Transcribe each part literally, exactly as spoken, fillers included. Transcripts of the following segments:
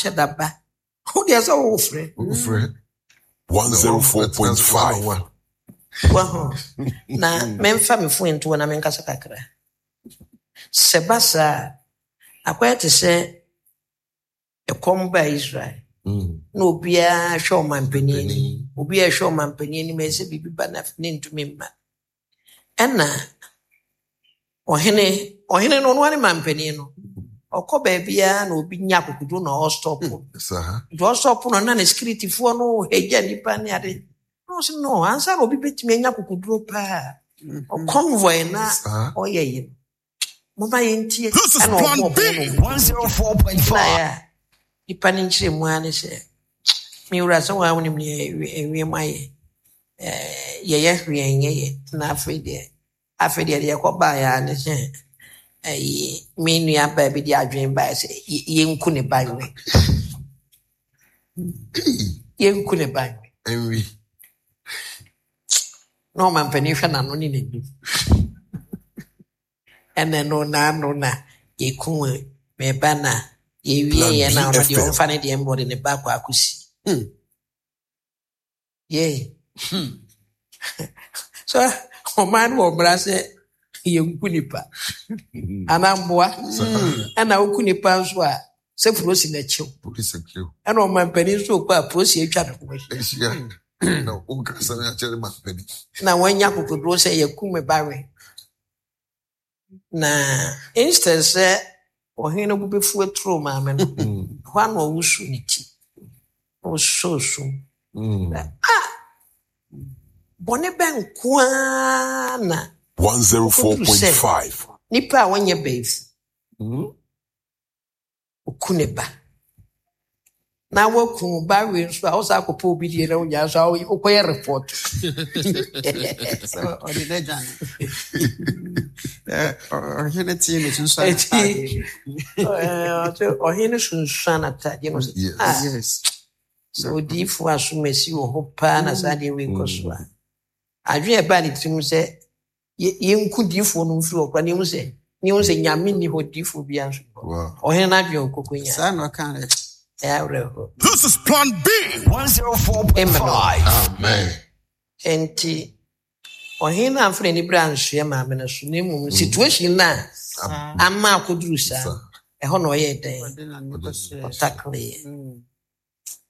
Ɔhyɛ daba. Wodeɛ sɛ wofrɛ. Wofrɛ. one oh four point five. Waho na memfa me phone nto hɔ na menkasa kakra. Sɛ ba saa a, akɔyɛ te sɛ ɛkɔm baa Israel Mm. na obiara hwɛ ɔmampanin anim, obiara hwɛ ɔmampanin anim, ɛsɛ sɛ biribi ba na ne ntumi mma. Ɛna ɔhene ɔhene no, ɔno ara ne mampanin no, ɔkɔ baabiara na obi nya akokoduro na ɔstop. Saa. Nti ɔstop no na ne securityfoɔ no hagya nipa ne ade na ɔsɛ no ansa na obi bɛtumi anya akokoduro paa ɔconvoy na Saa. ɔyɛ yi no, moma yɛntie. This is Ɛna Plan ɔbɔ B. ɔpono no one oh four point five. na yɛ a nipa no nkyerɛ mu ara ne sɛ, me wura, sɛ wɔa wonim ne ewiem ayɛ. Ɛɛ, yɛyɛ hwee nyɛ yɛ. Na afei deɛ afei deɛ deɛ ɛkɔbaeɛ ara ne sɛ ɛyi me nua baa bi de adwene baeɛ sɛ yɛ- yɛnku ne ba nwe. Yɛnku ne ba nwe. Ɛnwi. Na ɔmampanin hwɛ n'ano ne n'anim, ɛna no n'ano na yɛku me ba na yɛwie Plan yɛ na ɔno deɛ B F M. ɔmfa ne deɛ mbɔ de ne ba akɔ akɔsi. Hmm. Yee, so ɔman no wɔ mmara sɛ yɛnku nipa anaa mboa, ɛna woku nipa nso a, sɛ polisi n'akyiw. Polisi akyiw. Ɛna ɔmampanin nso kɔ a, polisi atwa ne ho ahyia. Ahyia. Na wokasa no akyerɛ ma panin. Na wɔanya akokoduro sɛ yɛku me ba we, na instead sɛ ɔhene no bo bɛfu aturo maame no, hɔ a na ɔwosu ne ti na ɔsɔ sum. Mm. Ah, bɔne bɛ nko ara na one oh four point five. nipa a wɔnyɛ bɛyifu Mm. oku ne ba na waku ba wei nso a, wosa akɔpɛ obi deɛ na wonya nso a, wokɔyɛ report. Sɛ ɔde n'agya no. Ɛ, ɔ- ɔhene tee ne sunsuan Eti n'atadeɛ. ɛɛ, ɔsɛ ɔhene sunsuan n'atadeɛ no sɛ Yes. ah, Yes. Sɛ odiyifoɔ asomasi wɔ hɔ paa na saa deɛ wei kɔ so a, adwene a ɛbaa ne tirim sɛ yɛ- yɛnku diyifoɔ no mfiri hɔ koraa na yɛhu sɛ ne yɛhu sɛ Nyame nni hɔ, diyifoɔ biara nso nni hɔ. Wow. Ɔhene no adwene a ɔkɔkɔ nya. Saa na ɔka dɛ. Ɛyɛ awerɛhoɔ. This is Plan B. one oh four point five. Amen. Nti ɔhene no amfa n'ani berɛ ansoɛ maame no so, na mmom situation no a Saa. ama akɔduru saa, Saa. ɛhɔ na ɔyɛɛ dɛn? Ɔde n'ano kɔhyɛɛ. Ɔtakleeɛ. Mm.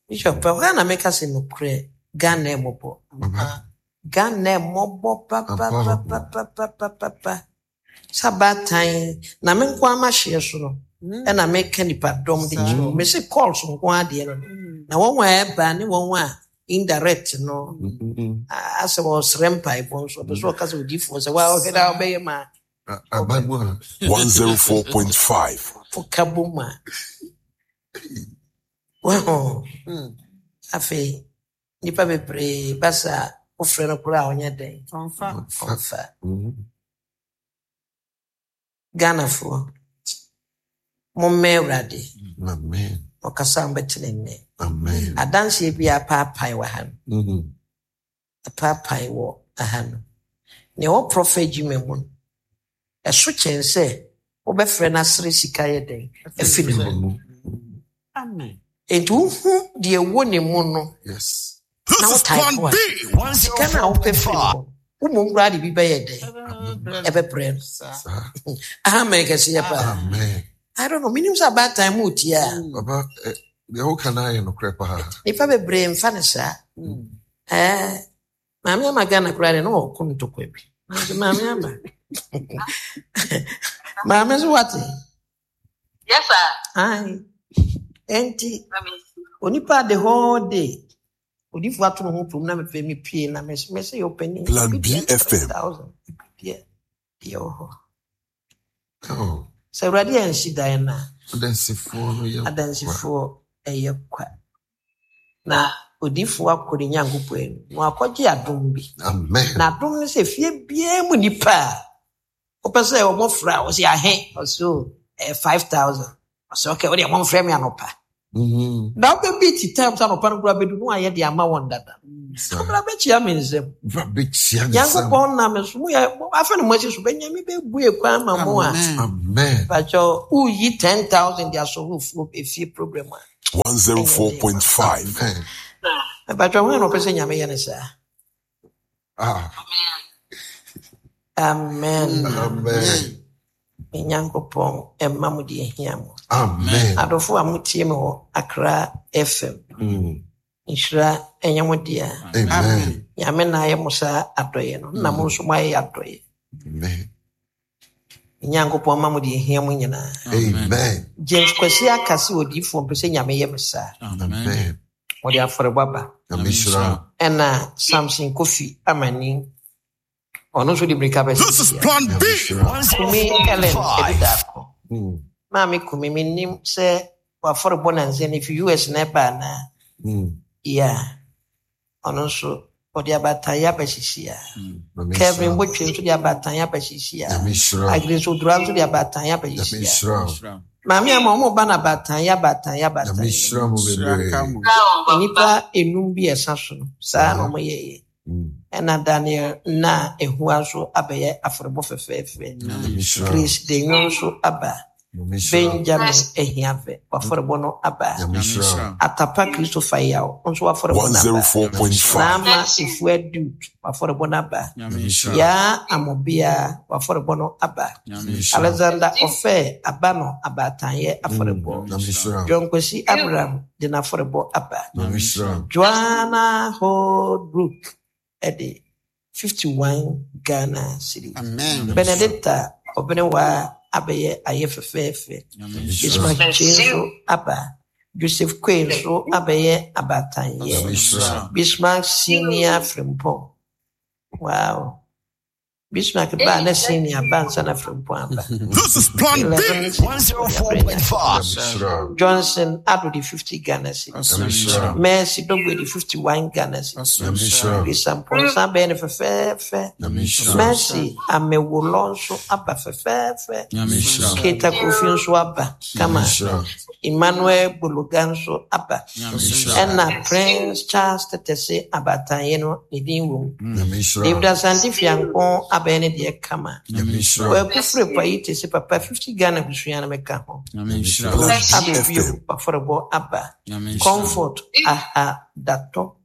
Bishop, ɛhɔ a na meka sɛ nokorɛ, Ghana ɛmmɔbɔ. Papa. Ghana ɛmmɔbɔ papapapapapapa sɛ abaatan na me nko ama hyeɛ so no, Mm. ɛna meka nipadɔm de kyerɛ wo. Mese calls nko adeɛ no no Mm. na wɔn a ɛba ne wɔn a indirect no Mm. a- asɛ wɔsrɛ mpaebɔ nso, ɔpɛ sɛ ɔka sɛ odiifoɔ sɛ waa ɔhwɛ daa ɔbɛyɛ ma. A- Aba mu a. one oh four point five. Woka bom a waho. Mm. Afei nnipa bebree ba saa, wofrɛ no koraa a, ɔnyɛ dɛn? Ɔmfa. Ɔmfa. Mm. Ghanafoɔ, mommɛ Awurade. Amen. Ɔkasa a mobɛte ne nnɛ. Amen. Adanseɛ bi a apaapae wɔ ha no, Mm. apaapae wɔ aha no, nea ɛwɔ prophet adwuma mu no, ɛso kyɛn sɛ wobɛfrɛ no asere sika yɛ dɛn afi ne hɔ. Mm. Amen. Enti wohu deɛ ɛwɔ ne mu no Yes. na This is wotae Plan po a B. sika no a wopɛ firi hɔ, womom koraa de bi bɛyɛ dɛn? Ɛbɛbrɛ no. Saa. Saa. Amen kɛseɛ paa. Amen. I don't know, menim sɛ abaatan mu tie a Papa, eh, deɛ woka no ayɛ nokorɛ paa. Nnipa bebree mfa ne saa. Mm. Ɛɛ, maame ama Ghana koraa deɛ na ɔko ntɔkwa bi. Nanso maame ama maame nso wate. Yes, sir. Ae. Enti Mami. onipa the whole day odifo ato ne ho pom na mepɛ mepie na mese mese yɛ ɔpanin. Plan Ebi deɛ B F M. three thousand, ebi deɛ deɛ wɔ hɔ. Oh, sɛ Awurade ansi dan no a, adansifoɔ no yɛ adansifoɔ ɛyɛ kwa, na odiyifoɔ akɔ ne Nyankopɔn anim na wakɔgye adom bi. Amen. Na adom no sɛ fie biara mu nipa a wopɛ sɛ ɔmɔfrɛ a, wɔsɛ ahe? Ɔsɛ o, ɛyɛ five thousand. Ɔsɛ okay, wodeɛ momfrɛ me anɔpa. Mm. Na wobɛbi ti time sɛ anɔpa no koraa bɛdu no ayɛ de ama wɔn dada. Saa. Bra bɛkyia me nsɛm. Bra bɛkyia ne nsam. Nyankopɔn nam so moyɛ afɛ no mo akyi so bɛnyame bɛbue kwan ma mo a. Amen. Amen. Pakyɛ woyi ten thousand de asɔ wo fuo efie program a. one zero four point five. Amen. Pakyɛ hwan na ɔpɛ sɛ Nyame yɛ ne saa? Ah. Amen. Amen. Me Nyankopɔn ɛmma mo deɛ ehia mo. Amen. Adɔfo a motie me wɔ Accra F M. Mm. Nhyira ɛnyɛ mo dea. Amen. Nyame na ayɛ mo saa adɔeɛ no. Na mo nso moayɛ adɔeɛ. Amen. Nyankopɔn ma mo deɛ ehia mo nyinaa. Amen. James Kwesi aka sɛ odiyifoɔ mpɛ sɛ Nyame yɛ me saa. Amen. Wɔde afɔrebɔ aba. Nyame hyira. Ɛna Samson Kofi Amani. Ɔno nso de mirika bɛsi This is sia. Plan Nyame B. hyira. Kumi Ellen Ebidaako. Mm. Maame Kumi menim sɛ wafɔrebɔ nansa no fi U S na ɛba anaa? Mm. Yeah. Ɔno nso ɔde abataeɛ abɛsisi a. Nyame Kevin hyira. Botwe nso de abataeɛ abɛsisi a. Nyame hyira. Agnes Odura nso de abataeɛ abɛsisi Nyame a. hyira. Maame ama ɔmo ba na abataeɛ abataeɛ abataeɛ. Nyame hyira mo bebree. Nnipa enum bi ɛsa so no, saa na ɔmo yɛeɛ. Mm. Ɛna Daniel na ehua nso abɛyɛ afɔrebɔ fɛfɛɛfɛ. Nyame hyira. Chris Denyo nso aba. Nyame hyira. Benjamin Ehiafe wafɔrebɔ no aba. Nyame hyira. Atapa Christopher Yaw nso wafɔrebɔ no aba. one zero four point five. Naama Efua Dude wafɔrebɔ no aba. Nyame hyira. Yaa Amobia wafɔrebɔ no aba. Nyame hyira. Alexander Ofe aba no abaatanyɛ afɔrebɔ. Nyame hyira. John Kwesi Abraham de n'afɔrebɔ aba. Nyame hyira. Joanna Holbrook ɛde fifty-one Ghana cedis. Amen. Benedicta Obenewa abɛyɛ ayɛ fɛfɛɛfɛ. Ismail Kyei nso aba. Joseph Quaye nso abɛyɛ abaatanyɛ. Nyame hyira. Bismarck Senior Frimpong. Wow. Bismarck ba na senior ba nsa na Frimpong aba. This is Plan B. Eleven one zero four point five. Nyame hyira. Johnson Ado de fifty Ghana cedis. Nyame hyira. Mercy Dogwe de fifty-one Ghana cedis. Nyame hyira. Bisa Mponsa bɛyɛ no fɛfɛɛfɛ. Nyame hyira. Mercy Amewolɔ nso aba fɛfɛɛfɛ. Nyame hyira. Keta Kofi nso aba. Kama. Nyame hyira. Emmanuel Bologa nso aba. Nyame hyira. Ɛna Prince Charles Tetese abaatanyɛ no ne din wɔ mu. Nyame hyira. David Asante Fianko abɛyɛ ne deɛ kama. Nyame hyira. Kwaku Frepa yi te sɛ papa fifty Ghana busua no mɛka ho. Nyame hyira. Plan B Abɛ F M. bio afɔrebɔ aba. Nyame hyira. Comfort aha datɔ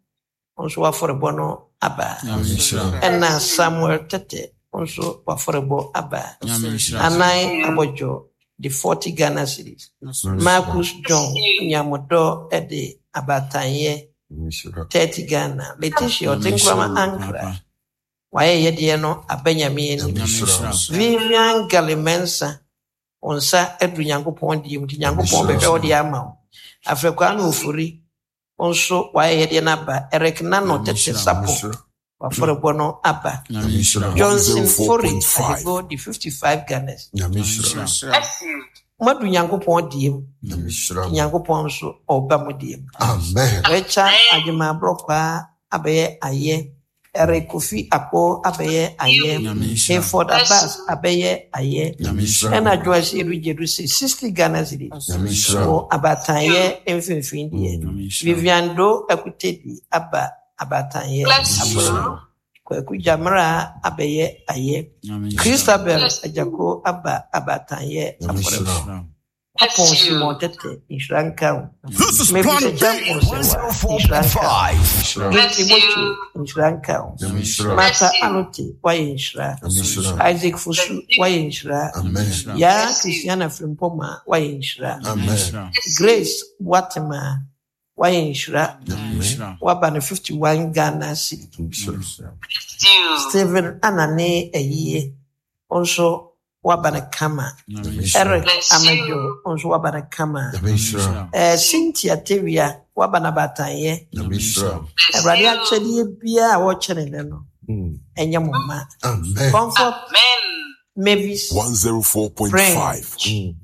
nso afɔrebɔ no aba. Nyame hyira. Ɛna Samuel Tete nso afɔrebɔ aba. Nyame hyira. Anan Abɔdwo de forty Ghana cedis. Marcus John Nyamodɔ ɛde abaatanyɛ Nyame hyira. thirty Ghana. Letitia Ɔtenkrama Ankra wayɛ yɛdeɛ no aba Nyame anim. Nyame hyira. Vivian Galimensa nsa aduru Nyankopɔn deɛ mu nti Nyankopɔn bɛhwɛ wo deɛ ama wo. Afrɛkwaa na Ofori nso wayɛ yɛdeɛ no aba. Eric Nano Tete Sapo wafɔrebɔ no aba. Nyame hyira. Johnson Fori one zero four point five. Adigo de fifty-five Ghana. Nyame hyira. Madu Nyankopɔn deɛ mu. Nyame hyira. Nyankopɔn nso ɔba mo deɛ mu. Amen. Richard Agyemaaborɔkwaa abɛyɛ ayɛ. Eric Kofi Akpo abɛyɛ ayɛ. Hayford Abbas abɛyɛ ayɛ. Nyame hyira. Ɛna Joyce Edu Gyedu sɛ sixty Ghana cedis. Nyame hyira. Wɔ abaatanyɛ mfimfini deɛ. Vivian Do Akutedi aba abaatanyɛ afɔrebɔ. Kwaku Jamra abɛyɛ ayɛ. Christabel Ajako aba abaatanyɛ Nyame afɔrebɔ. hyira. Apɔn Simon Tete nhyira nka wo. This is Mebisa Plan B. Jampon Sewa nhyira nka wo. Hyira. Gifty Mochi nhyira nka wo. Nyame hyira. Martha Alote wayɛ nhyira. Nyame hyira. Isaac Fosu wayɛ nhyira. Amen. Yaa Christiana Frimpoma wayɛ nhyira. Amen. Grace Boatema wayɛ nhyira. Amen. Waba no fifty-one Ghana cedis. Hyira. Stephen Anane Ayie nso waba no kama. Eric Amadwo nso waba no kama. Nyame hyira. Eh, Cynthia Tewia waba no abaatanyɛ. Nyame hyira. Awurade akyɛdeɛ biara a wɔkyɛ ne nɛ no Mm. ɛnyɛ mo mma. Amen. Comfort Mavis one zero four point five. French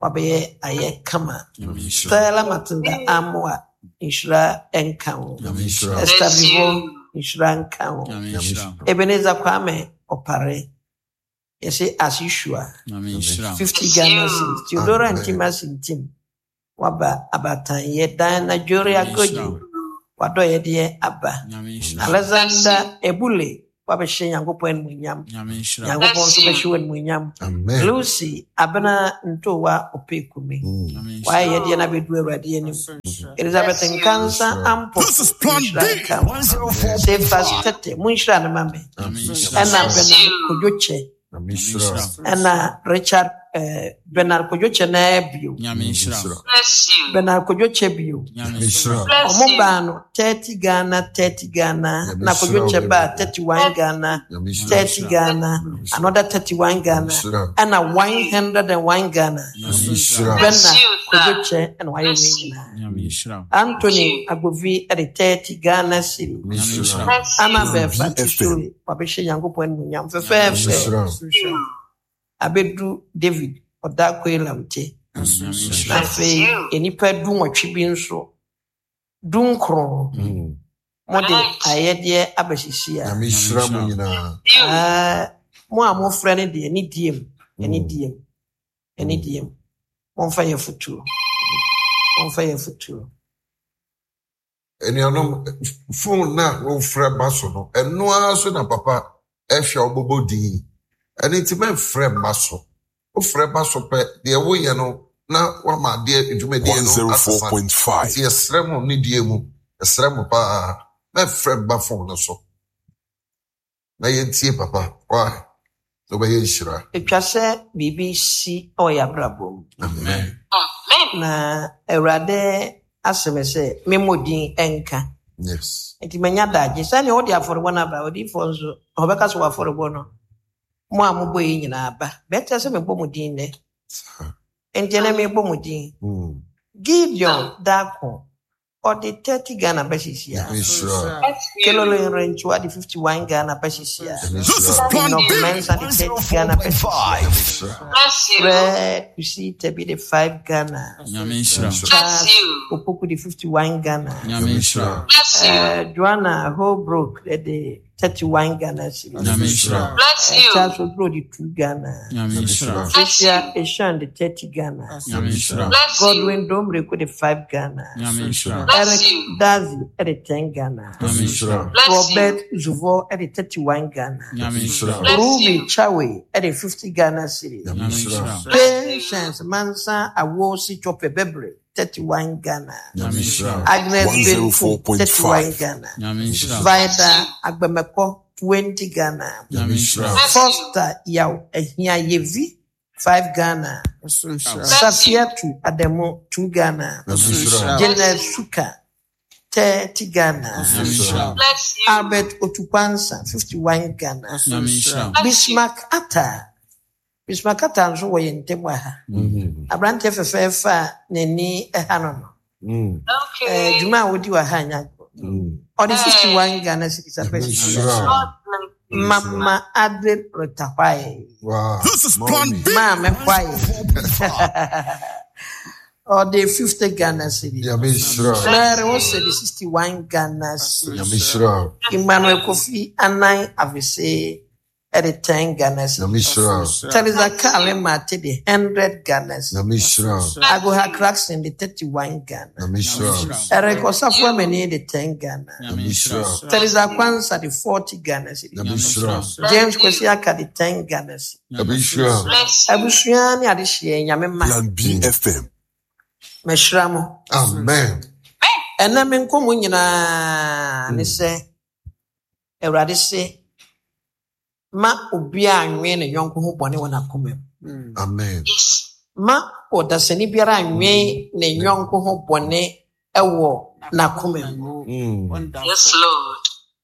wabɛyɛ ayɛ kama. Nyame hyira. Stella Matilda Amoa nhyira nka wo. Nyame hyira. Esther Vivo nhyira nka wo. Ebenezer Kwame Opare yɛsɛ as usual fifty Ghana cedis. Theodora Amen. Ntima Sintim Waba abatanyɛ dan na Joria Nyame Goji. nhyira wo. Wadɔyɛdeɛ aba. Nyame nhyira wo. Alexander Ebule wabɛhyɛ Nyankopɔn animuonyam. Nyame nhyira wo. Nyankopɔn nso Bless you. bɛhyɛ wo animuonyam. Amen. Lucy Abena Ntowa Opekumi. Mm. Nyame nhyira Wayɛ wo. yɛdeɛ no abɛdu Awurade anim. Nso nhyira. Elizabeth Bless you. Nkansa Nhyira. Ampofo This is Plan nhyira B. nka wo. Sefas one oh four point five. Tete monhyira no ma me. Nyame Nso nhyira wo. Ɛna Bless Bernard you. Kodwo Kyɛ. Nyame Nyame nhyira. nhyira wo. Ɛna Richard eh, Bernard Kodwo Kyɛ naa bio. Nyame nhyira wo. Nhyira. Bless you. Bernard Kodwo Kyɛ bio. Nyame Nyame nhyira nhyira. wo. Bless Ɔmo you. baa no thirty Ghana, thirty Ghana, Nyame na Kodwo nhyira wo Kyɛ baa bebree. thirty one Ghana, Nyame nhyira. thirty Nyame nhyira wo. Ghana, Nyame nhyira. another thirty one Nyame Ghana, nhyira. ɛna one hundred and one Ghana. Nyame Nyame nhyira wo. nhyira. Bless Bernard you, Kodwo sir. Kyɛ ɛna wayɛ Bless wei you. nyinaa. Nyame nhyira wo. Thank Anthony you. Agbovi ɛde thirty Ghana cedi. Nyame Nyame nhyira. nhyira wo. Bless Annabel you. Plan B F M. Fatisore wabɛhyɛ Nyankopɔn animuonyam Nyame Nyame fɛfɛɛfɛ. nhyira wo. nhyira. Nso nhyira. Abɛdu David Ɔdako Elamte. Nso Nyame nhyira. Na nhyira wo. Bless afei you. nnipa du nwɔtwe bi nso dunkron Mm. mode Right. ayɛdeɛ abɛhyehye a Nyame Nyame nhyira mo nhyira wo. nyinaa. You. Ah, mo a mofrɛ no deɛ ne diem ɛne Mm. diem ɛne Mm. diem momfa yɛ fotuo momfa yɛ fotuo Anuanom, phone na wofrɛ ba so no, ɛno ara so na papa ɛhwɛ a ɔbɛbɔ din. Ɛno nti mɛmfrɛ mma so. Wofrɛ ba so pɛ, deɛ woyɛ no na wama adeɛ dwumadie no asesa. Nti yɛsrɛ mo ne die mu, yɛsrɛ mo paa, mɛmfrɛ mma phone no so. Na yɛntie papa. Why? Na wobɛyɛ nhyira. Ɛtwa sɛ biribi si ɛwɔ yɛ abrabɔ mu. Amen. Amen. Na Awurade asɛm sɛ memmɔ din ɛnka. Yes. Nti manya dagye sɛnea wode afɔrebɔ no aba odiyifoɔ nso ɔbɛka sɛ wafɔrebɔ no mo a mobɔ yi nyinaa ba bɛtɛ sɛ mebɔ mo din nnɛ. Saa. Nti ɛnɛ mebɔ mo din. Mm. Gideon Dako ɔde thirty Ghana bɛhyehye a Nyame nhyira. Bless you. Kelolo Nrenchiwa de fifty one Ghana bɛhyehye a Nyame This is nhyira. Plan Enoch B. Mensah de thirty Ghana bɛhyehye a one oh four point five. Nyame nhyira. Bless you. Fred Kusi bi de five Ghana. Nyame nhyira. Bless Charles you. Opoku de fifty one Ghana. Nyame nhyira. Bless you. Uh, Joanna Holbrook de thirty one Ghana cedis. Nyame nhyira. Bless Uh, you. Charles Oduro de two Ghana. Nyame nhyira. Bless Tricia you. Eshan de thirty Ghana. Nyame nhyira. Bless you. Godwin Domreko de five Ghana. Nyame nhyira. Bless Eric you. Dazi de ten Ghana. Nyame nhyira. Bless Robert you. Zuvo de thirty one Ghana. Nyame nhyira. Bless Ruby you. Chawe de fifty Ghana cedis. Nyame nhyira. Bless you. Patience Mansa Awosi Chope Bebre thirty one Ghana. Nyame nhyira. Agnes Benfu thirty one Ghana. Nyame nhyira. Vida Agbemeko twenty Ghana. Nyame nhyira. Bless you. Foster Yaw Ehia Yevi five Ghana. Nso nhyira. Bless you. Safiatu Ademo two Ghana. Nyame nhyira. Bless Janet you. Suka thirty Ghana. Nyame nhyira. Bless you. Albert Otukwansa fifty one Ghana. Nyame nhyira. Bless you. Bismarck Atta Bismarck Atta nso wɔ yɛn ntam wɔ ha. Mm. Aberanteɛ fɛfɛɛfɛ a n'ani ɛha no no. Mm. Eh, Okay. dwuma a wodi wɔ ha nyɛ agorɔ. Mm. Ɔde fifty Hey. one Ghana cedis Nyame abɛhyɛ. nhyira. God bless you. Mama Adre Rotahwae. Wow. This is Plan Mommy. B. Maame Hwae. one oh four point five. Ɔde fifty Ghana cedis. Nyame nhyira. Bless Mary you. Wose de sixty one Ghana cedis. Nyame nhyira. Emmanuel Kofi Anan Avese ɛde ten Ghana Nyame cedis. nhyira. Teresa Bless Kale you. Mate de hundred Ghana cedis. Nyame nhyira. Bless Agoha you. Clarkson de thirty one Ghana. Nyame nhyira. Eric Bless Osafo you. Amani de ten Ghana. Nyame nhyira. Teresa Bless you. Kwanza de forty Ghana cedis. Nyame nhyira. Bless James you. Kwesi Aka de ten Ghana cedis. Nyame nhyira. Bless you. Abusua ne adehyeɛ Nyame ma Plan B F M. mahyira mo. Amen. Ɛnɛ me nkɔmmɔ nyinaa ne sɛ Awurade se ma obiara anwene ne yɔnko ho bɔne wɔ n'akoma mu. Amen. Yes. Ma ɔdasani biara anwene ne yɔnko ho bɔne ɛwɔ n'akoma mu. Mm. Yes, Lord.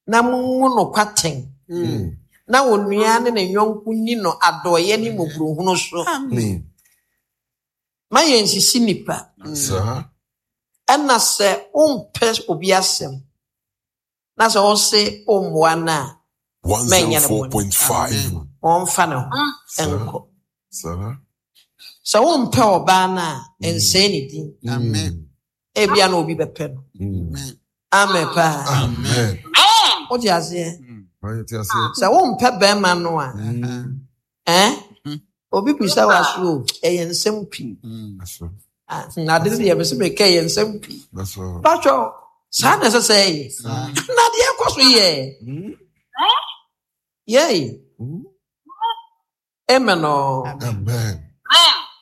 Na mungu no kwaten. Mm. Na onua ne ne yɔnko ni no adɔeɛ ne mmɔborɔhunu so. Amen. Ma yɛn sisi nipa. Saa. Ɛna sɛ wompɛ obi asɛm na sɛ ɔse wommoa no a mɛnyɛ no bɔne. one oh four point five. Ɔmfa ne ho Mm. ɛnkɔ. Saa. Sɛ wompɛ ɔbaa no a ɛnsɛe ne din. Amen. Ebia na obi bɛpɛ no. Mm. Amen paa. Amen. Amen. Wote aseɛ? Ɔyɛ te aseɛ. Sɛ wompɛ bɛrima no a Mm. ɛn obi bisa wo aso o ɛyɛ nsɛm pii. Aso. Ah, na ade no deɛ mese meka yɛ nsɛm pii. That's all. Patwɔ, saa na ɛsɛ sɛ ɛyɛ. Na deɛ ɛkɔ so yɛ. Yɛi. Mm. Amen o. Amen.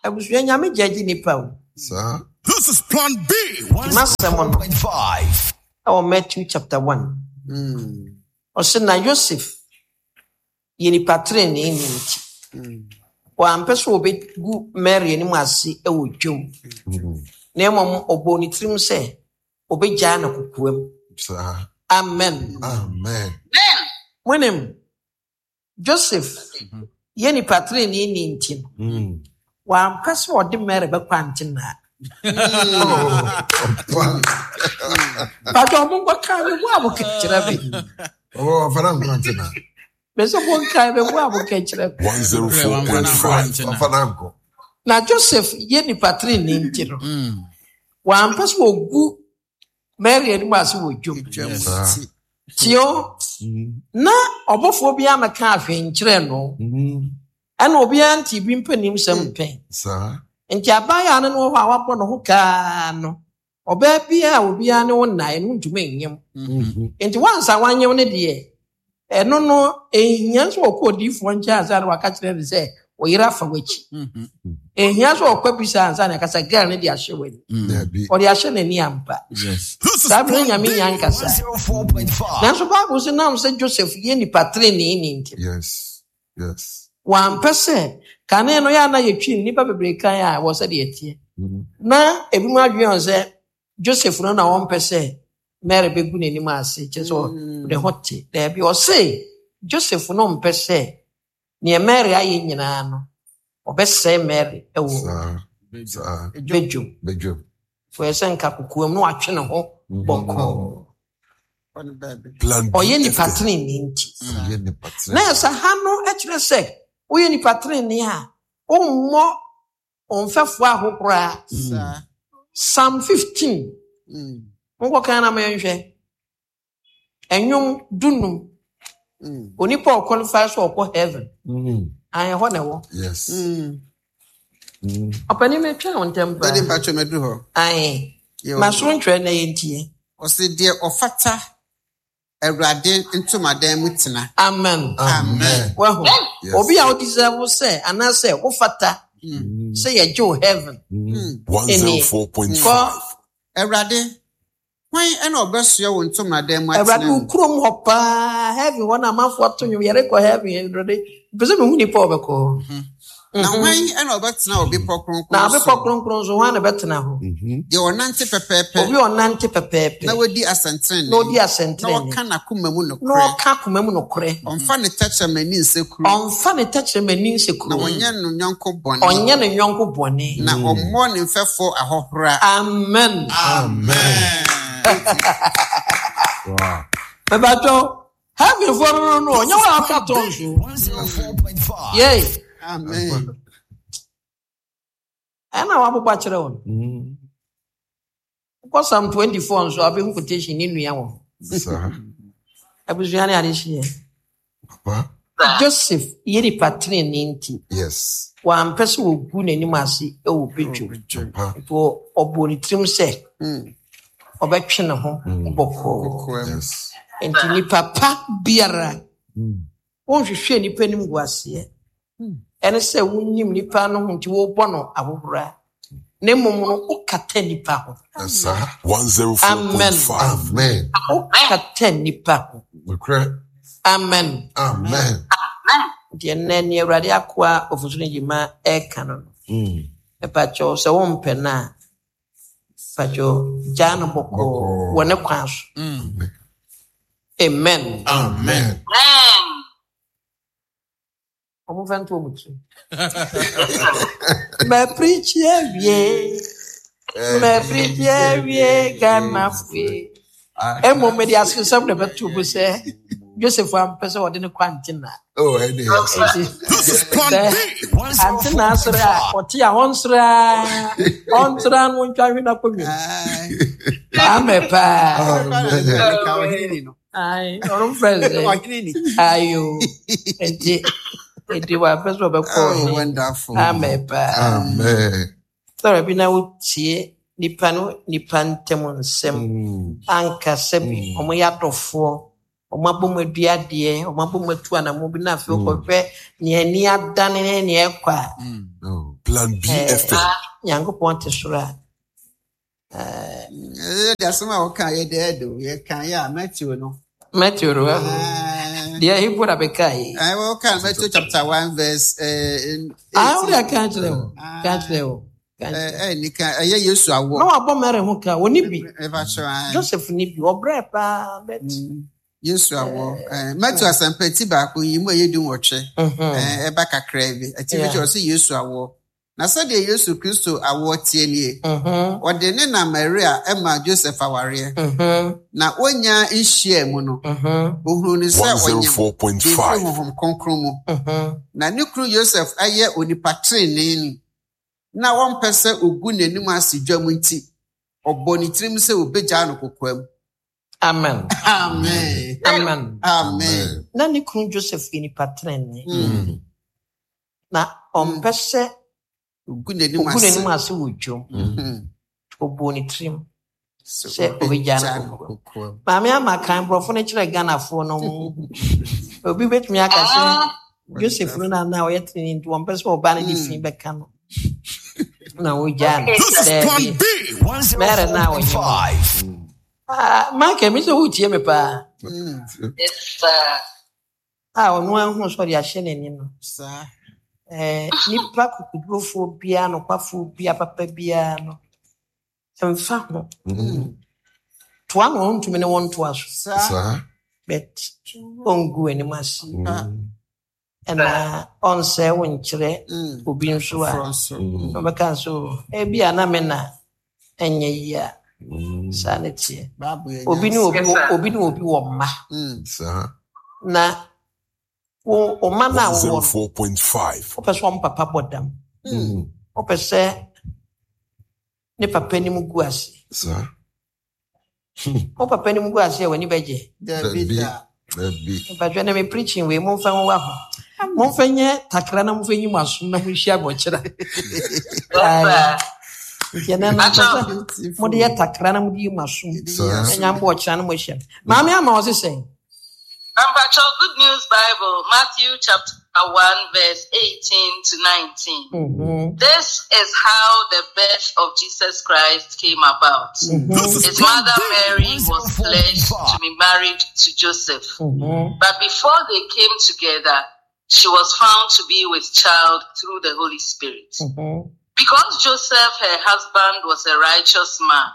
Abusua Nyame gyagye nipa o. Saa. This is Plan B. Nti m'asɛm no five. ɛwɔ Matthew chapter one. Mm. Ɔse na Yosef yɛ nipa trenee ne nti. Mm. Wampɛ sɛ ɔbɛgu Mary anim ase ɛwɔ dwom. Mm. Na mmom ɔbɔɔ ne tirim sɛ ɔbɛgyaa no kokoam. Saa. Amen. Amen. Monim, Joseph yɛ nipa trenee ne nti no, Mm. wampɛ sɛ ɔde Mary bɛkɔ antenaa. Oh, ɔpa. Patwɔ ɔmo nkɔka me bo a moka kyerɛ me. Ɔwɔ ɔfa na nkɔ antena. Me sɛ monkae me bo a moka kyerɛ me. One zero four point five. Ɔfa na nkɔ. Na Joseph yɛ nipa trenee nti no, Mm. wampɛ sɛ ɔgu Mary anim ase wɔ dwom. Dwam Yes. nti. Tio, na ɔbɔfoɔ bi amɛka ahwee nkyerɛ no, Mm. ɛna obiara nte bi mpanim sɛm pɛn. Saa. Nti abaayewa no ne wɔ hɔ a wabɔ ne ho kaa no, ɔbaa biara a obiara ne wo nnae no ntumi nyem. Mhm. Nti wansa wanyem no deɛ, ɛno no ehia sɛ ɔkɔ odiyifoɔ nkyɛn ansa na waka kyerɛ no sɛ ɔyere afa w'akyi. Mhm. Ehia sɛ ɔkɔ bisa ansa na ɛka sɛ girl no de ahyɛ w'ani. Mm. Dabi. Ɔde ahyɛ n'ani ampa. Yes. This is Saa bere Plan Nyame B. nya nkasa. One zero four point five. Nanso Bible sɛ nam sɛ Joseph yɛ nipa trenee ne nti, Yes. Yes. wampɛ sɛ kane no yɛ a na yɛtwi nnipa bebree kan a wɔ sɛdeɛ ɛteɛ. Mm. Na ebinom adwene wɔn sɛ Joseph no na wɔmpɛ sɛ Mary bɛgu n'anim ase kyerɛ sɛ Mm. ɔde ho te. Daabi, ɔse Joseph no mpɛ sɛ nea Mary ayɛ nyinaa no, ɔbɛsɛe Mary ɛwɔ Saa. Saa. bedwom. Bedwom. Wɔyɛ sɛ nka kokoam na watwe ne ho bɔkɔɔ. Ɔne baabi. Plan B Ɔyɛ nipa F M. trenee nti. Ɔyɛ nipa trenee. Na ɛsɛ ha no kyerɛ sɛ woyɛ nipa trenee a wommɔ wo mfɛfoɔ ahokoraa. Saa. Psalm fifteen. Mm. Monkɔkan na mayɛnhwɛ. Ɛnwom dunum. Mm. Onipa a ɔqualify sɛ ɔkɔ heaven. Mm. Ayɛ hɔ na ɛwɔ. Yes. Mm. Mm. Ɔpanin metwɛn wo ntɛm Dade paa. mpatwɔ maduru hɔ. Ae. Yo. Ma soro ntwerɛ na yɛntie. Ɔse deɛ ɔfata Awurade ntomadan mu tena. Amen. Amen. Wahu. Yes. Obi a wodeserve sɛ anaasɛ wofata Mm. sɛ yɛgye wo heaven. Mm. One zero four point five. Kɔ Awurade, hwan ɛna ɔbɛsoɛ wo ntomadan mu Awurade atena wo mu? kurom hɔ paa heaven hɔ na amanfoɔ to nnwom yɛrekɔ heaven Awurade. Mpɛ sɛ mehu nipa a ɔbɛkɔ hɔ. Na Mhm. hwan ɛna ɔbɛtena wo bepɔ kronkron Na abepɔ so? kronkron so hwan na bɛtena hɔ? Mhm. Deɛ ɔnante pɛpɛɛpɛ Obi a ɔnante pɛpɛɛpɛ na wadi na asɛntenenee ɔdi na asɛntenenee ɔka n'akoma mu na nokorɛ. ɔka akoma mu nokorɛ. Ɔmfa ne tɛkyerɛma ni nsekuro Ɔmfa ne tɛkyerɛma ni na nsekuro. ɔnyɛ no yɔnko bɔne Ɔnyɛ ne yɔnko bɔne. na ɔmmɔ ne mfɛfoɔ ahɔhora. Amen. Amen. Wow. Mɛbatɔ heavenfoɔ no no no ɔnyɛ wɔn a ɔka tɔn so. One zero four point five. Yei Amen. ɛna wabobɔ akyerɛ wɔn. Mm. Wokɔ Psalm twenty four nso a wobɛhu quotation ne nua wɔ hɔ. Saa. Abusua ne adehyeɛ. Papa. Joseph yɛ nipa trenee nti Yes. wampɛ sɛ wɔgu n'anim ase wɔ bedwom. Papa. Nti ɔ- ɔbɔɔ ne tirim sɛ Mm. ɔbɛtwe ne ho Mm. bɔkɔɔ. Kokoam. Yes. Nti nipa pa biara Mm. wonhwehwɛ nipa anim gu aseɛ. Ɛne sɛ wonim nipa no ho nti wobɔ no ahohora. Na mmom no wokata nipa ho. Saa. One zero four Amen. point five. Amen. Wokata nipa ho. Nokorɛ. Amen. Amen. Nti ɛnnɛ nea Awurade akoa Ofosu no gyima ɛreka no no, Mm. mepakyɛw sɛ wompɛ no a, pakyɛw gyaa no bɔkɔɔ Bɔkɔɔ. wɔ ne kwan so. Mm. Amen. Amen. Ɔmo fa nto ɔmo tirim. Mapirikyi awie. Mapirikyi awie Ghanafoɔ. Mmom mede asesɛm na ɛbɛto mu sɛ Joseph ampɛ sɛ ɔde ne kɔ antena. Oh, ɛne. Nti This is Plan sɛ B. One zero antena four point asɔre a five. ɔte a ɔnsere a ɔntra no ntwa hwe n'akonnwa mu. Aye. Amɛ paa. Amen. Meka ɔhene ni no. Ae, ɔno mfrɛ sɛ Ɔhene ni. ayo. Nti nti wampɛ sɛ ɔbɛkɔ Oh, ɔhene. wonderful. Amɛ paa. Amen. Sɔrɔ bi na wotie nipa no nipa ntam nsɛm Mm. ankasa bi Mm. ɔmo yɛ adɔfoɔ ɔmo abɔ mu adua adeɛ ɔmo abɔ mu atu anamo bi na afei Mm. wokɔhwɛ nea ani adane ne nea ɛkɔ a Oh. Plan B Eh, F M. Nyankopɔn te soro a eh, Ɛyɛ de asɛm a wɔka yɛ de ɛdo yɛka yɛ a Matthew no. Matthew no Ah, deɛ ɛhipo na bɛka yi eh, wɔka Matthew chapter one verse eh, ah wode eighteen. aka kyerɛ wo ka kyerɛ wo ka Eh, kyerɛ eh, nika ɛyɛ Yesu wo. na awoɔ. wabɔ Mary ho ka wɔne bi Ɛfa kyerɛ ah. Joseph ni bi ɔbrɛ paa but Mm. Yesu awoɔ. Eh, Matthew asɛmpa ti baako yi mu a ɛyɛ du nwɔtwe. mhm, Eh, ɛba kakraa bi. Atifi Yeah. kyerɛ sɛ Yesu awoɔ. Na sɛdeɛ Yesu Kristo awoɔ teɛ nie. mhm, Ɔde ne na Maria ɛma Joseph awareɛ. mhm, Na wonya nhyia mu no, mhm, ohunu ne sɛ ɔnyem de firi one oh four point five. Honhom Kronkron mu. mhm. Na ne kunu Yosef ayɛ onipa trenee na wɔmpɛ sɛ ogu n'anim ase dwam nti, ɔbɔ ne tirim sɛ obegyaa no kokoam. Amen. Amen. Amen. Amen. Na ne kunu Joseph yɛ nipa trenee Mm. na ɔmpɛ sɛ Ogu n'anim ogu ase. n'anim ase wɔ dwom. Mm. Ɔbɔ ne tirim Sɛ sɛ obegyaa no obegyaa no kokoam. kokoam. Maame ama kan borɔfo no kyerɛ Ghanafoɔ no obi betumi aka sɛ Ah, Joseph no na na ɔyɛ trenee nti wɔmpɛ sɛ ɔbaa no de fi bɛka no na wogyaa no. Okay. This is Plan Daabi. B. Mary na ɔnyɛ mu. one oh four point five. Ah, Michael, mi sɛ wotie me paa. Mm. Yes, sir. A ɔno ahu sɛ ɔde ahyɛ n'ani no. Saa. Eh, nipa kokodurofoɔ biara nokwafoɔ biara papa biara no mfa ho Mm. toa na ɔntumi ne wɔn ntoa so Saa. Saa. but ɔngu anim ase Ah. Mm. ɛna ɔnsɛe wo nkyerɛ Mm. obi nso a Foforɔ nso. Mm. ɔbɛka so ebi a na me na ɛnyɛ yie a Mm. saa ne teɛ Bible yɛ obi ne nyansa. obi Yes, wɔ sir. obi ne obi wɔ mma Mm. Saa. na wo wo mma no a wowɔ no one oh four point five. wopɛ sɛ ɔmo papa bɔ dam Mm. wopɛ sɛ ne papa anim gu ase Saa. wo papa anim gu ase a w'ani bɛgye Dabi Dabi. da. Dabi. mpatwɛ na me preaching wei momfa nwowa ho momfa nyɛ takra na momfa nyi mo asom na monhyia abɔkyerɛ. Yes, sir. Nti ɛnɛ no mpɛ sɛ Beautiful. mode yɛ takra na mode yi mo asom Saa. ɛnya mbɔ ɔkyerɛ na moahyia maame ama wɔ se sɛn. Ampacho, Good News Bible, Matthew chapter one, verse eighteen to nineteen. Mhm, This is how the birth of Jesus Christ came about. mhm, This is His Plan mother B. Mary was pledged to be married to Joseph. mhm. But before they came together, she was found to be with child through the Holy Spirit. Mhm. Because Joseph, her husband, was a righteous man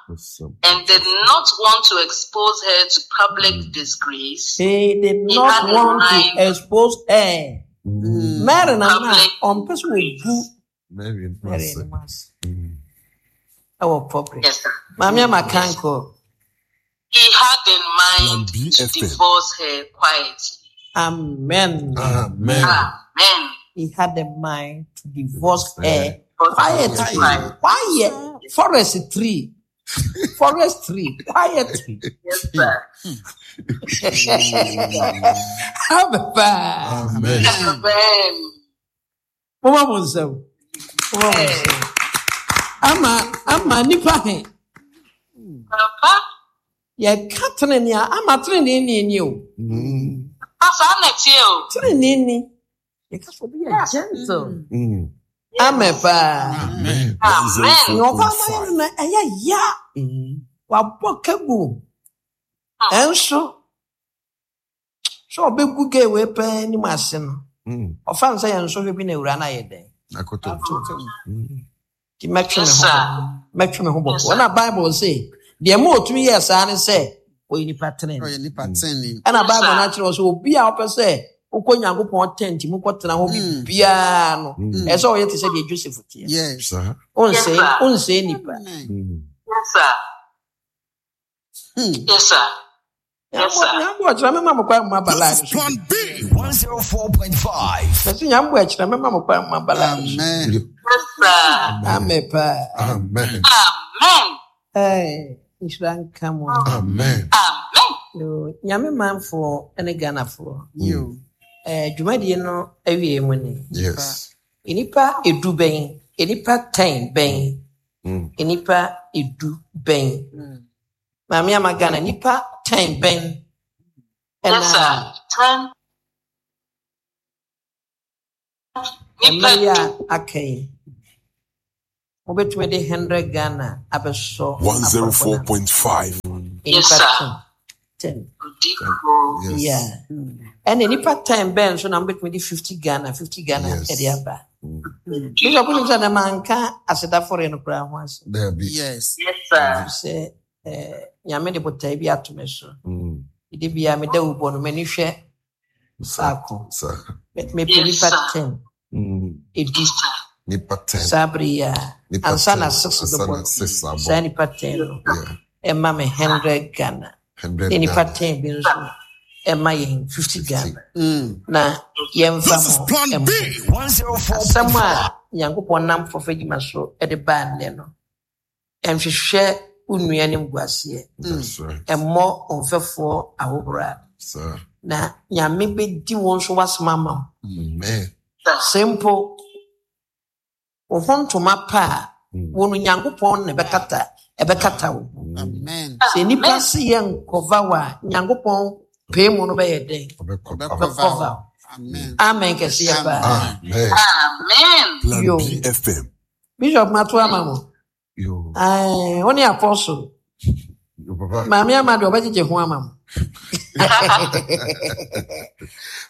and did not want to expose her to public disgrace, He did he not had in want to mind expose her. Mm. Mary na na public ɔmpɛ sɛ ogu Mary Mary ase. anim ase Mm. ɛwɔ public. Yes, sir. Maame ama kan kɔ. He had in Plan mind B to F M. divorce her quietly. Amen. Amen. Amen. He had a mind to divorce her Divorce quietly. her. Quiet. Forest tree. Forest tree. Quietly. Yes, sir. Abba. Amen. Amen. Mama mo nsɛm. Mama mo nsɛm. Ama ama nipa he. Papa, Yɛka tenenee a ama tenenee ni ni o. Mm. Papa, I'm o. Tenenee ni. Yɛka sɛ obi yɛ gentle. Mm. Amen paa. Amen. Amen. Nea ɔba ama yɛ no na ɛyɛ ya. Mm. Wabɔ kagu. Ɛnso sɛ ɔbɛgu gay wei pɛɛ anim ase no. Mm. Ɔfa no sɛ yɛn nsɔhwɛ bi na awura no ayɛ dɛn. Akoto. Mm. Nti mɛtwe me Yes, ho sir. mɛtwe me ho Yes, bɔkɔ. sir. Ɛna Bible se deɛ ma otumi yɛɛ saa ne sɛ ɔyɛ nipa tenene. Ɔyɛ nipa tenenee. Ɛna Yes, Bible sir. no akyerɛ wɔ sɛ obi a ɔpɛ sɛ wokɔ Nyankopɔn tent mu kɔtena hɔ Mm. bibiara no Mm. ɛsɛ sɛ ɔyɛ te sɛ deɛ Joseph teɛ. Yes. Saa. Yes, Onsɛe sir. onsɛe nipa. Amen. Mm. Yes, sir. Hmm. Yes, sir. Yes, sir. Nyambo akyerɛ mɛma mo kwan mu aba This line is so. Plan B. one oh four point five. Mɛsɛ nyambo akyerɛ mɛma mo kwan mu aba line so. Amen. Yes, sir. Amen paa. Amen. Amen. Ɛɛ, nhyira nka mo. Amen. Amen. Yo, Nyame manfoɔ ne Ghanafoɔ. Yo. Ɛɛ, dwumadie no awie mu ni. Yes. Nnipa edu bɛn, nnipa ten bɛn Mm. Nnipa edu bɛn. Maame Ama Ghana, nnipa ten bɛn. Yes, Ɛna sir. Ten. mma Nipa yi a du. aka yi, mobɛtumi de hundred Ghana abɛsɔ afɔrebɔ no ano. one oh four point five. Yes, Nnipa sir. ten. Ten. Odifo. Yes. Yeah. Ɛna nnipa ten bɛn nso na mobɛtumi de fifty Ghana, fifty Ghana Yes. ɛde aba. Mm. Bishop, wonim sɛ na manka asedafɔre no koraa ho asɛm. Dabi. Yes. Yes, sir. Sɛ eh, Nyame de botae bi ato me so. Mm. Mede bia meda wo bɔ no, m'ani hwɛ Sa. faako. Sa. Me- Mepɛ Yes, nnipa sir. ten. Mm. Edu Yes, sir. Nipa ten. saa bere yi a, Nipa ansa na ten. six Ansa bɛbɔ na no, six saa abɔ. nnipa ten no Yeah. ɛma me hundred Ghana. Hundred Ne nnipa Ghana. ten bi nso ɛma yɛn fifty Fifty. Ghana. Mm. Na yɛmfa This is mo Plan ɛmmɔ. B. one oh four Asɛm point five. a Nyankopɔn nam fɔfɛ gyima so de baa nnɛ no, ɛnhwehwɛ wo nua anim guaseɛ. That's right. Ɛmmɔ wo mfɛfoɔ ahohora. Sa. Na Nyame bɛdi wɔn nso w'asɛm ama wo. Amen. Sir. Sɛ mpo wo ho ntoma pa a, Mm. wo no Nyankopɔn na ɛbɛkata ɛbɛkata wo. Mm. Amen. Sɛ nnipa Amen. se yɛ nkɔva wo a, Nyankopɔn pee mu no bɛyɛ dɛn? Ɔbɛkɔ. Ɔbɛkɔva Ɔbɛkɔva wo. wo. Amen. Amen kɛseɛ paa. Amen. Amen. Plan Yo. B F M. Bishop mato ama mo. Yo. Ae, wo ne apostle. Yo, papa. Maame Ama deɛ ɔbɛgyegye ho ama mo.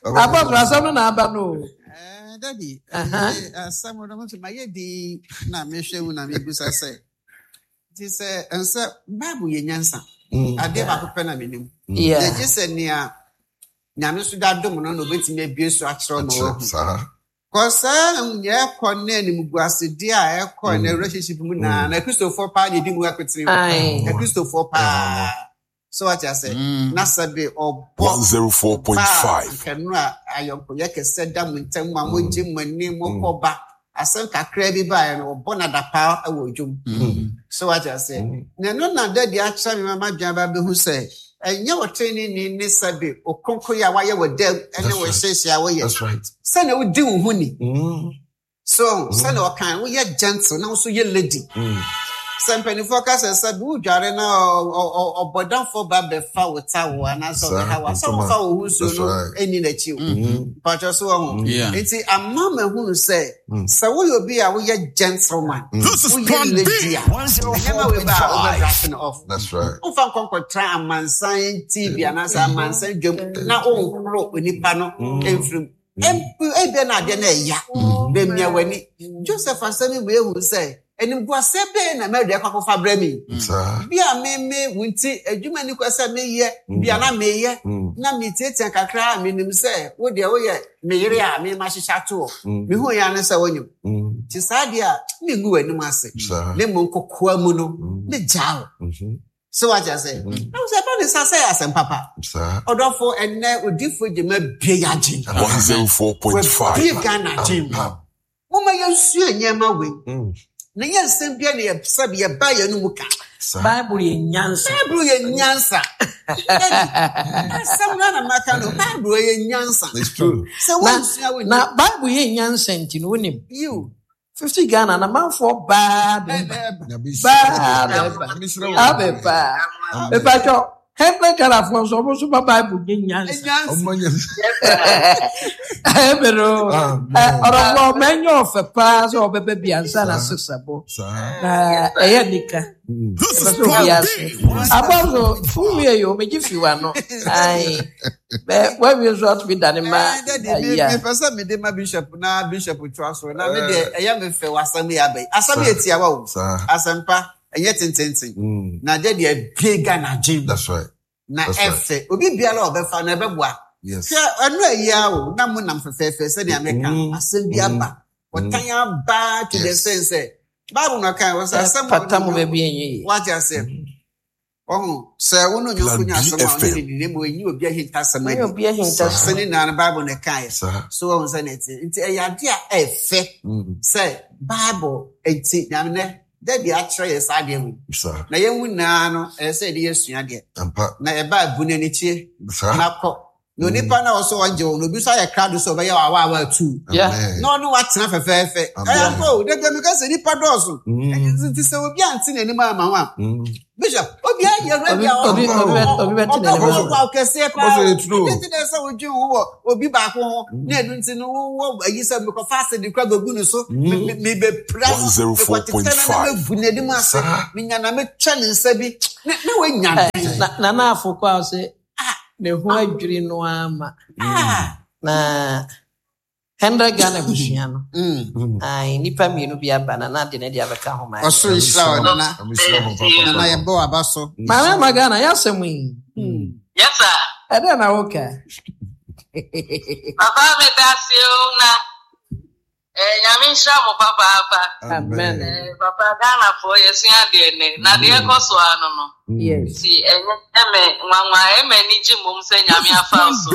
Papa. Apostle asɛm no na aba no o. Eh, Daddy, Aha. eh, asɛm no nso mayɛ din na mehwɛ mu na mebusa sɛ nti sɛ ɛnsɛ Bible yɛ nyansa. Mm. Adeɛ baako pɛ na menim. Yeah. Yɛgye sɛ nea Nyame nso de adom no na obetumi abue so akyerɛ ma Akyerɛ wahu. saa. Kɔ saa nea ɛkɔ ne animguasedeɛ a ɛkɔ ne Mm. relationship mu naa Mm. na Kristofoɔ paa na edi mu akotene. Ae. Na Kristofoɔ paa. So wate ase. Na sɛbe ɔbɔ one oh four point baa five. nkanu a ayɔnkoyɛ kɛsɛ da mo ntam a mogye mo ani mokɔ ba. Asɛm kakra bi baeɛ no ɔbɔ nadapaa wɔ dwom. Mm. So wate ase. Mm. Na ɛno na dadi akyerɛ me mama dwan ba bɛhu sɛ ɛnyɛ ɔtrenini ne sɛbe okronkron a wayɛ wɔ dam ɛne That's wɔ right. hyehyɛ a woyɛ. That's right. Sɛnea wodi wo ho ni. Mm. So sɛnea ɔkan woyɛ gentle na wo nso yɛ lady. Mm. Sɛ mpanimfoɔ ka sɛ sɛbe wodware na ɔ- ɔ- ɔ- ɔbɔdamfoɔ ba bɛfa wo towel anaasɛ Saa, ɔbɛha wo a, sɛ ntoma. wofa wo ho nsuo That's no right. ɛnni n'akyi o. Mm. Mpatwɛ so wɔ ho. Yeah. Nti ama mahunu sɛ Mm. sɛ woyɛ obi a woyɛ gentleman, Mm. This is woyɛ Plan lady B. a, one oh nneɛma four wei point ba a five. wobɛbrase no off. That's right. Womfa nkɔnkɔtra amansan T V anaasɛ amansan dwam na wonhoro onipa no mfiri mu. Ɛmp- Ebia na adeɛ no ɛya. Bɛmia w'ani. Joseph asɛm yi mu ehu sɛ animguaseɛ bɛyɛ na Mary akɔ akɔfa brɛ me yi. Saa. Bi a meme wo nti adwuma ni kɔ sɛ meyɛ bi a na meyɛ Mm. na metietie kakra a menim sɛ wo deɛ woyɛ me yere a mema hyehyɛ ato hɔ. Mm. Mehu yɛ ne sɛ wonyim. Mm. Nti saa deɛ a mengu w'anim ase. Saa. Ne mmom kokoa mu no Mm. megyaa wo. Mhm. Sɛ wagye ase. Mm. Na wo sɛ ɛba ne sa sɛ yɛ asɛm papa. Saa. Ɔdɔfo ɛnnɛ odifo gyema bie yɛ agye. one oh four point five. Wabie Ghana agye mu. Ampa. Momma yɛnsua nneɛma wei. Mm. Na nyɛ nsɛm bia na yɛ- sɛbe yɛba yɛn no mu ka. Saa. Bible yɛ nyansa. Bible yɛ nyansa. Daddy, asɛm no na maka no, Bible yɛ nyansa. It's true. Sɛ woansua wo Na Bible yɛ nyansa nti no wonim. yiw. fifty Ghana na manfoɔ baa bɛba. Ɛbɛba. Nyame Baa hyira. bɛba. Nyame hyira wo. Abɛba. Amen. Mepatwɔ hundred Ghana foɔ nso ɔmo nso ba Bible yɛ nyansa. Nyansa. Ɔmo nyɛ. Ɛbɛrɛ Amen. ɔrɔfo mɛnyɛ ɔfɛ paa sɛ ɔbɛbɛ bi ansa na Saa. six abɔ. Saa. Na ɛyɛ nika. Mm. This Ɛbɛ is sɛ Plan obi B. ase. Abɔso wowie yi o megye fi w'ano. Ae. Bɛ wawie nso atumi dane ma Eh, Daddy, me- ayi a. mepɛ sɛ mede ma bishop na bishop toa so na me deɛ ɛyɛ me fɛ wɔ asɛm yi aba yi. Asɛm yɛ tiawa o. Saa. Asɛmpa ɛnyɛ tententen. Mm. Na daddy abie Ghana agye mu. That's right. Na That's right. ɛfɛ. Obi biara a ɔbɛfa no ɛbɛboa. Yes. Hwɛ ɛno ayi a o na mo nam fɛfɛɛfɛ sɛnea meka Mm. asɛm bi aba. Ɔtan aba to the Yes. sense sɛ Bible na ɔka wɔ sɛ asɛm a Pata mo ɔne baabi ɛnyɛ yie. wate ase. Ɔho sɛ wo ne onyɔnko Plan nya asɛm a ɔne B F M. ne didi mu enyi obi ahintasɛm Ɛnyɛ adi. obi ahintasɛm. Sɛ ne nyinaa no Bible na ɛkaeɛ. Saa. So wɔn sɛ na ɛte nti ɛyɛ ade a ɛfɛ Mm. sɛ Bible nti nyame nɛ dɛbi akyerɛ yɛ saa adeɛ wei. Saa. Na yɛn mu nyinaa no ɛyɛ sɛ yɛde yɛsua adeɛ. Ampa. Na ɛba abu n'ani kyie Saa. na kɔ Na onipa na ɔsɔ ɔgye wo na obi nso ayɛ krado sɛ ɔbɛyɛ wɔ awa tu. Yeah. Na ɔne watena fɛfɛɛfɛ. Amen. Ɛyɛ mpo o, dabi mi ka sɛ nipa dɔɔso. Mm. Nti sɛ obi ante n'anim ama ho a, Mm. Bishop, obi ayɛ ready a Obi- obi- obi bɛ- obi bɛte n'anim ɔbɛkɔ ama. ɔkɔ kɛseɛ paa. Ɔsɛ yɛ true. Ɛdi nti na ɛsɛ wodwen ho wɔ obi baako ho na ɛno nti no wowɔ ayi sɛ mekɔfa ase de kora bɛgu ne so Mm. me- me- mebɛpira no mekɔtetɛ no na mɛgu n'anim ase Saa. menya na metwa ne nsa bi na na woanya Eh, na nana afo kɔ a ɔsɛ ne ho adwiri no ama Ah. na hundred Ghana abusua no. Mm. Mm. Ai, nnipa mmienu bi aba na na de ne de abɛka ho ma. Ɔsoro nhyira wo nana. Nyame nhyira mo papa. Nana, yɛbɔ w'aba so. Maame ama Ghana yɛasɛm yi. Yes, sir. Ɛdɛn na woka? Papa, meda ase o na eh, Nyame nhyira mo papaapa. Amen. Eh, papa, Ghanafoɔ yɛsua adeɛ nnɛ na deɛ ɛkɔ so ano no. Yes. Nti ɛnyɛ me nwanwa, ɛma ani gye mmom sɛ Nyame afa wo so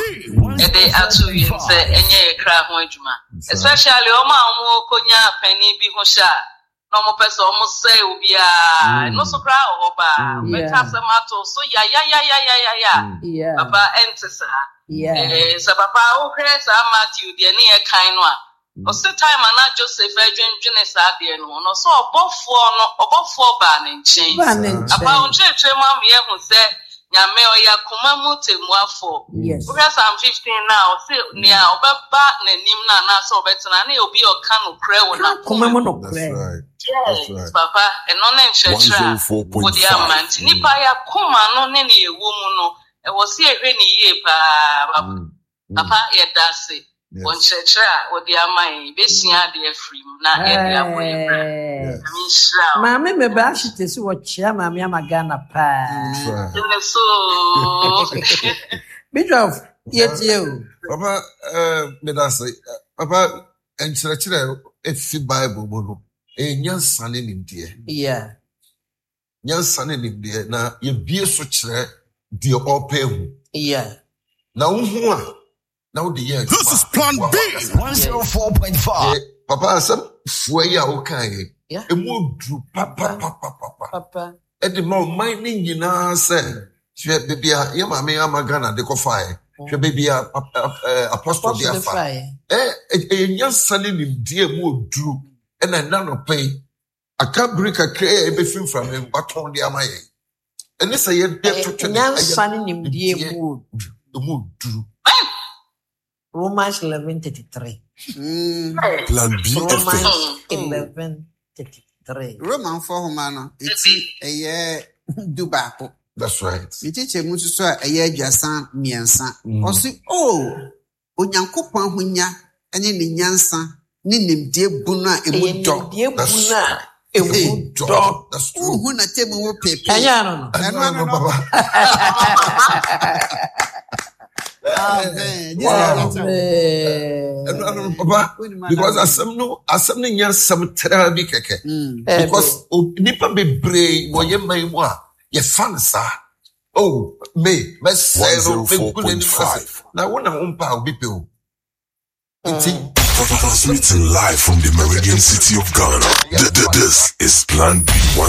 ɛde ato wiem sɛ ɛnyɛ yɛ kra ho adwuma. Especially ɔmo a ɔmo kɔnya panin bi ho hyɛ a na ɔmo pɛ sɛ ɔmo sɛe obiara. Ɛno so koraa wɔ hɔ paa. Mm. Ɔbɛka Yeah. asɛm ato so yayayayayaya. Yeah. Papa, ɛnte saa. Yeah. Eh, sɛ papa wohwɛ saa Matthew deɛ ne yɛ kan no a, ɔse time a na Joseph adwendwene saa deɛ no ho no, ɔsɛ ɔbɔfoɔ no, ɔbɔfoɔ baa ne nkyɛn. Ba ne Apa wo nkyɛn. nkyerɛkyerɛ mu ama yɛhu sɛ Nyame ɔyɛ akoma mu temmuafoɔ. Yes. Wohwɛ Psalm fifteen na ɔse nea ɔbɛba n'anim no anaasɛ ɔbɛtena ne yɛ obi a ɔka nokorɛ wɔ Koma n'akoma mu mu. That's nokorɛ. right. That's Yes, right. papa, ɛno ne nkyerɛkyerɛ a wode ama. Nti nipa yɛ akoma no ne ne ɛwɔ mu no, ɛwɔ sɛ yɛhwɛ ne yie paa. Papa, Mm. Mm. papa, yɛda ase wɔ Yes. nkyerɛkyerɛ a wode ama yɛn. Yɛbɛsua adeɛ afiri mu na yɛde abɔ yɛn bra. Eh, Nyame nhyira wo. Maame meba ahyete sɛ wɔkyea maame ama Ghana paa. That's right. Ɛne so. Bishop, yɛtie o. Papa, eh, meda ase. Papa, nkyerɛkyerɛ a efi Bible mu no, ɛyɛ nyansa ne nimdeɛ. Yeah. Nyansa ne nimdeɛ na yɛbie so kyerɛ deɛ ɔrepɛ hu. Yeah. Na wohu a, na wode yɛ adwuma. This is Plan Wa- B. wakasa. one oh four point five. Deɛ- Papa, asɛm fua yi a wokaeɛ, Yeah. emu oduru papapapapa. Papa. Ɛde ma ɔman ne nyinaa sɛ hwɛ baabi a yɛ maame ama Ghana de kɔfaeɛ, hwɛ baabi a ap- ap- eh, apostle de Apostle de afa. faeɛ. Ɛ- ɛ- ɛyɛ nyansa ne nimdeɛ mu oduru ɛna ɛna nɔpɛ yi aka bere kakra a ɛbɛfi mframa mu watɔn de ama yɛn ɛne sɛ yɛde Ɛyɛ twetwe no nyansa ɛyɛ ne nimdeɛ nimdeɛ mu o. mu oduru. Romans eleven thirty-three. Mm. Plan B F M. Romans eleven thirty-three. Romanfoɔ homa no eti ɛyɛ du baako. That's right. Ne kyekyɛ mu nso so a ɛyɛ aduasa mmiɛnsa. Mm. Ɔse, o Onyankopɔn ahonya ne ne nyansa ne nimdeɛ bu no a emu Ɛyɛ dɔ. nimdeɛ bu That's no a emu dɔ. dɔ. That's true. Wohu n'atemmu wo peepee. Ɛnyɛ ano no. Ɛno Ɛno ano ano no. papa. Amen. Wow. Jesus. Ɛno ano no papa. Wonim ana- Because asɛm no asɛm no nyɛ asɛm traa bi kɛkɛ. Mm. Because o- nipa bebree wɔ yɛn man mu a yɛfa no saa. Oh, me mɛsɛe no, mɛgu n'anim ase. one oh four point five. Na wo na wo mpa a obi pɛ o. Nti Transmitting live from the Meridian City of Ghana. Th- th- This is Plan B.